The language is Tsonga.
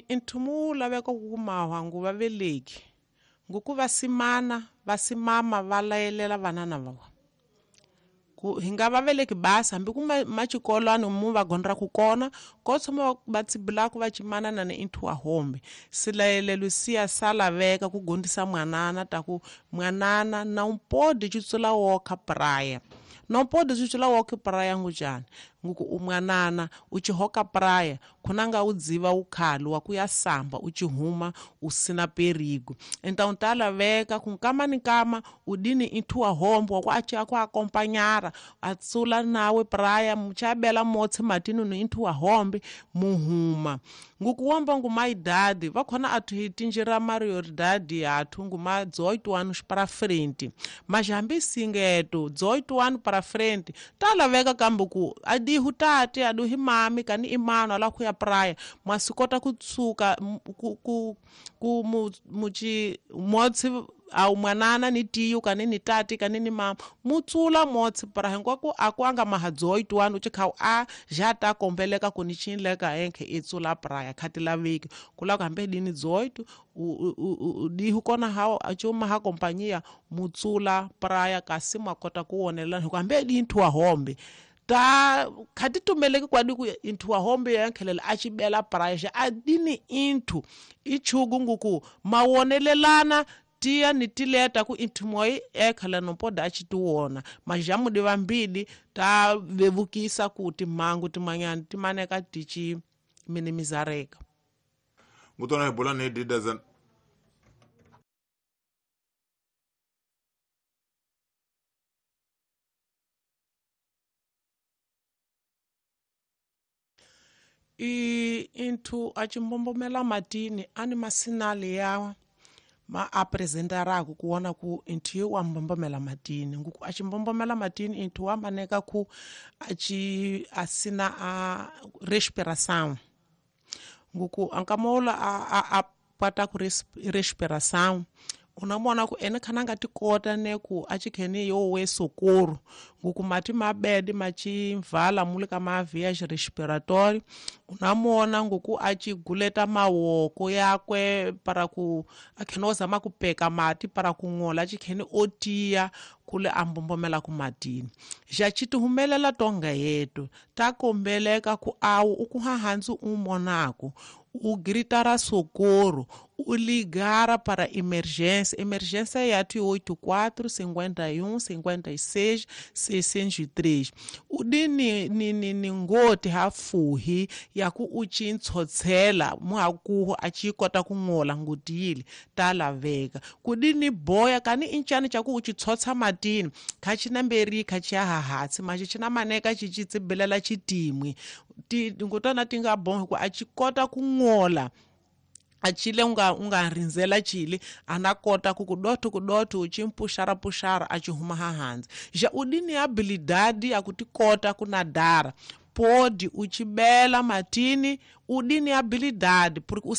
Nchumu wu laveka ku mahungu va veleki nguku vasimana vasimama va layelela vanana va vona ku hi nga va veleki basi hambi ku maxikolwani mu va gondzaku kona ko tshama va tsibulaku va cimanana ni inthu wa hombe silayelelo siya sa laveka ku gondzisa mwanana ta ku mwanana na umpodi citsula wokha praya na umpodi citsula wokha praya ngujani nguku umwanana u cihoka praya khunanga u dziva ukhali wa ku ya samba u cihuma u sina perigo então ta laveka ku nkama ni nkama u dini inthu wa hombo wa ku a cia ku akompanyara a tsula nawe praya muchabela motsi matini ni inthu wa hombe muhuma nguku womba ngu my dadi va khona athu hi tinjira mario dadi athu ngu ma 18 anos para frente mas hambi singeto 18 anos para frente ta laveka kambe ku adihu tati aduhi mami kani imano ala ku ya praia mwasikota kutsuka ku muchi motsi au mwanana ni tiyo kani ni tati kani ni mama mutsula motsi para hinkwako akwanga maha 18 anos chikhau a já ta kombeleka ku ni chinleka enkhe itsula praia khati laveki kula ku hambe dini 18 dihu kona hao achuma ha kompanyia mutsula praia kasi mwakota kuwonelela hiku hambe dini thuwa hombe ta khati tumeleki kwadi ku inthu wa hombe yankhelela a cibela praia xa adini inthu ichugu nguku mawonelelana tiya ni tileta ku inthu moyi ekhala nompoda a citiwona majamu di vambili ta vevukisa ku timhangu timanyana ti maneka ti ci minimizareka ngutona hi bula ni didazan Inthu a cimbombomela matini ani masinali ya ma apresentaraku kuona ku inthu ye wa mbombomela matini nguku a cimbombomela matini inthu wa maneka ku aci asina a respiração nguku ankamola a pata ku respiração unamona ku ene khana nga ti kota ne ku a chikheni yo we socorro nguku mati mabedi machimvala mule ka mavias respiratório unamona nguku a chiguleta mawoko yakwe para ku akhena ozama kupeka mati para kung'ola achikheni otiya kule ambombomela ku matini ja chitihumelela tonga yetu ta kombeleka ku awu ukuhahandzi umonaku u gritara socorro u ligara para emergência emergência é 84 51 56 603 u di ni ngoti ha fuhi ya ku u chintshotsela muhakuhu a chi kota ku ng'ola ngutile ta laveka ku di ni boya kani incani cha ku u chitshotsa matini kha china mberi kha chi hahatsi machi china maneka chi chitsibelela chitimwi ti ngutana ti nga bonga ku a chi kota ku ng'ola achile unga rinzela chile anakota ku kudoto uchimpushara pushara achihuma hahanzi ja udini habilidade ya kutikota kunadara pode uchibela matini udini habilidade porque